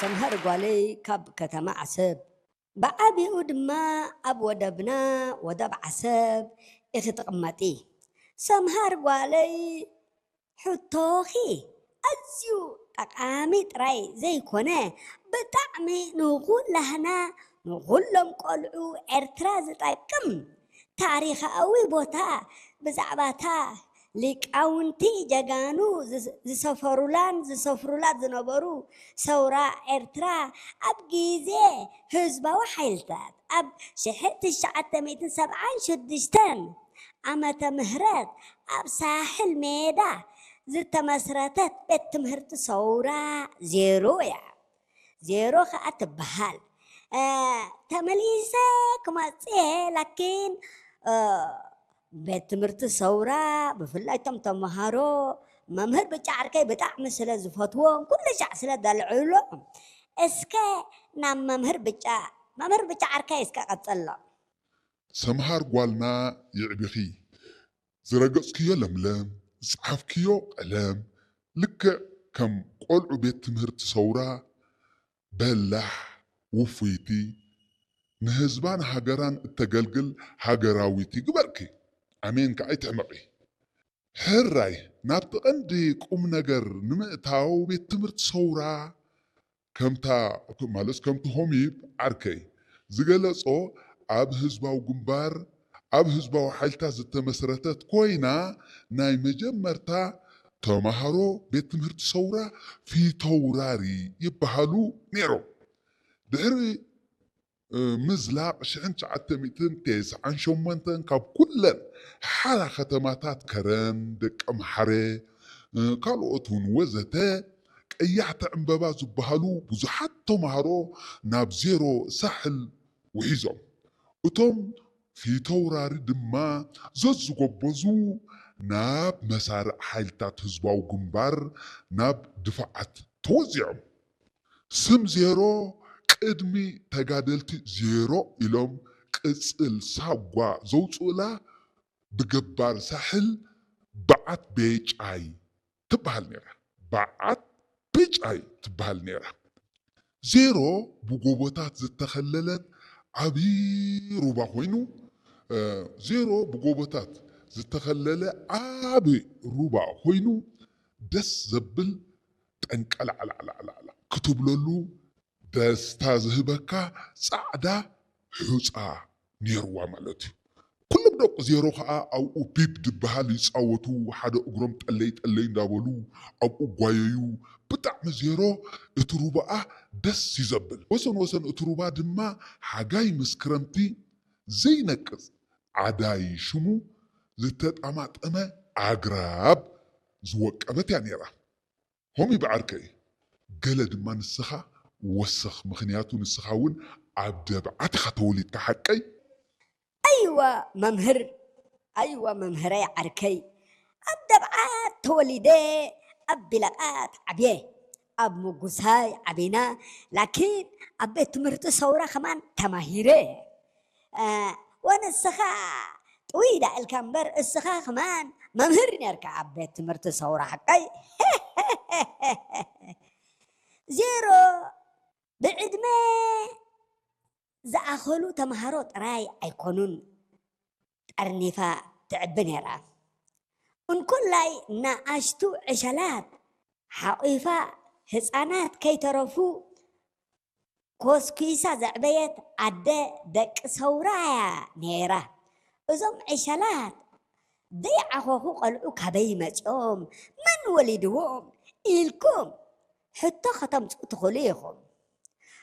ሰምሃር ጓለይ ካብ ከተማ ዓሰብ፣ ብዓቢኡ ድማ ኣብ ወደብና፣ ወደብ ዓሰብ፣ ኢኺ ትቕመጢ። ሰምሃር ጓለይ፣ ሕቶኺ ኣዝዩ ጠቓሚ ጥራይ ዘይኮነ፣ ብጣዕሚ ንኹላህና፣ ንኹሎም ቆልዑ ኤርትራ ዝጠቅም ታሪኻዊ ቦታ፣ ብዛዕባታ ሊቃውንቲ ጀጋኑ ዝስ-፣ ዝሰፈሩላን ዝሰፍሩላ ዝነበሩ ሰውራ ኤርትራ፣ ኣብ ግዜ ህዝባዊ ሓይልታት ኣብ ሽሕን ትሽዓተ ሚእትን ሰብዓን ሽዱሽተን ዓመተ ምህረት ኣብ ሳሕል ሜዳ ዝተመስረተት ቤት ትምህርቲ ሰውራ ዜሮ እያ። ዜሮ ኸኣ ትበሃል። እ፣ ተመሊሰ ክመጽእ እየ፣ ላኪን፣ እ፣ ቤት ትምህርቲ ሰውራ፣ ብፍላይ እቶም ተመሃሮ፣ መምህር ብጫ ዓርከይ ብጣዕሚ ስለ ዝፈትዎም፣ ኩሉ ሻዕ ስለ ዘልዕሎም፣ እስከ ናብ መምህር ብጫ፣ መምህር ብጫ ዓርከይ እስከ ቀጽሎ። ሰምሃር ጓልና፣ ይዕቢኺ። ዝረገጽክዮ ለምለም፣ ዝጸሓፍክዮ ቀለም፣ ልክዕ ከም ቆልዑ ቤት ትምህርቲ ሰውራ፣ በላሕ፣ ውፍይቲ፣ ንህዝባን ሃገራን እተገልግል ሃገራዊት ይግበርኪ። ኣሜን ከኣ ኣይትሕመቒ። ሕራይ፣ ናብቲ ቀንዲ ቁም ነገር ንምእታው፣ ቤት ትምህርቲ ሰውራ ከምታ፣ ማለት ከምቲ ሆሚብ ዓርከይ ዝገለጾ፣ ኣብ ህዝባዊ ግንባር፣ ኣብ ህዝባዊ ሓይልታት ዝተመስረተት ኮይና፣ ናይ መጀመርታ ተማሃሮ ቤት ትምህርቲ ሰውራ ፊተውራሪ ይበሃሉ ነይሮም። ድሕሪ፣ እ፣ ምዝላቕ ሽሕን ትሽዓተ ሚእትን ተስዓን ሸሞንተን ካብ ኩለን ሓራ ከተማታት ከረን፣ ደቀምሓረ፣ እ፣ ካልኦት እውን ወዘተ ቀያሕቲ ዕምበባ ዝበሃሉ ብዙሓት ተማሃሮ ናብ ዜሮ ሳሕል ውሒዞም። እቶም ፊተውራሪ ድማ ዘዝጎበዙ ናብ መሳርዕ ሓይልታት ህዝባዊ ግንባር ናብ ድፋዓት ተወዚዖም። ስም ዜሮ ቅድሚ ተጋደልቲ ዜሮ ኢሎም ቅጽል ሳጓ ዘውጽኡላ ብገባር ሳሕል በዓት ቤጫይ ትበሃል ነይራ። በዓት ቤጫይ ትበሃል ነይራ። ዜሮ ብጎቦታት ዝተኸለለት ዓቢ ሩባ ኮይኑ፣ እ፣ ዜሮ ብጎቦታት ዝተኸለለ ዓቢ ሩባ ኮይኑ፣ ደስ ዘብል ጠንቀላዕላዕላዕላዕ ክትብለሉ ደስታ ዝህበካ ጻዕዳ ሑጻ ነይርዋ ማለት እዩ። ኩሎም ደቂ ዜሮ ኸኣ ኣብኡ ቢብ ድበሃል ይጻወቱ፣ ሓደ እግሮም ጠለይ ጠለይ እንዳበሉ ኣብኡ ጓየዩ። ብጣዕሚ ዜሮ እቲ ሩባኣ ደስ እዩ ዘብል። ወሰን ወሰን እቲ ሩባ ድማ ሓጋይ ምስ ክረምቲ ዘይነቅጽ ዓዳይ ሽሙ ዝተጣማጠመ ኣግራብ ዝወቀበት እያ ነይራ። ሆሚ ብዓርከይ፣ ገለ ድማ ንስኻ ወስኽ፣ ምኽንያቱ ንስኻ እውን ኣብ ደብዓት ኢኻ ተወሊድካ፣ ሓቀይ? ኣይዋ መምህር፣ ኣይዋ መምህረይ ዓርከይ፣ ኣብ ደብዓት ተወሊደ፣ ኣብ ቢለቓት ዓብየ፣ ኣብ ምጉሳይ ዓቢና፣ ላኪን ኣብ ቤት ትምህርቲ ሰውራ ከማን ተማሂረ። እ፣ ወንስኻ ጥውይ ዳ ኢልካ እምበር፣ እስኻ ከማን መምህር ነርካ ኣብ ቤት ትምህርቲ ሰውራ፣ ሓቀይ? ዜሮ ብዕድመ ዝኣኸሉ ተምሃሮ ጥራይ ኣይኮኑን ጠርኒፋ ትዕቢ ነይራ። እንኮላይ ንኣሽቱ ዕሸላት ሓቑፋ ህጻናት ከይተረፉ ኮስኲሳ ዘዕበየት ኣደ ደቂ ሰውራ እያ ነይራ። እዞም ዕሸላት ዘይዓኾኹ ቆልዑ ካበይ መጺኦም? መን ወሊድዎም? ኢልኩም ሕቶ ከተምጽኡ ትኽእሉ ኢኹም።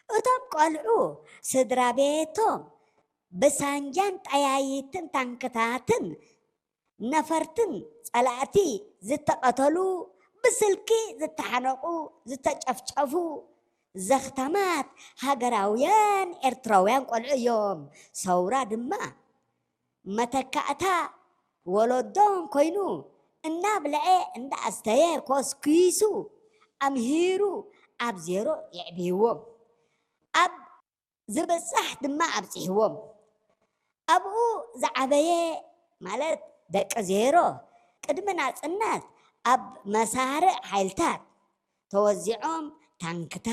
እቶም ቆልዑ ስድራ ቤቶም ብሳንጃን ጠያይትን ታንክታትን ነፈርትን ጸላእቲ ዝተቐተሉ፣ ብስልኪ ዝተሓነቑ፣ ዝተጨፍጨፉ፣ ዘኽታማት ሃገራውያን ኤርትራውያን ቆልዑ እዮም። ሰውራ ድማ መተካእታ ወለዶም ኮይኑ፣ እናብልዐ እንዳኣስተየ ኮስኲሱ ኣምሂሩ ኣብ ዜሮ የዕብይዎም። ኣብ ዝብጻሕ ድማ ኣብጺሕዎም። ኣብኡ ዝዓበየ፣ ማለት ደቂ ዜሮ፣ ቅድሚ ናጽነት ኣብ መሳርዕ ሓይልታት ተወዚዖም፣ ታንክታት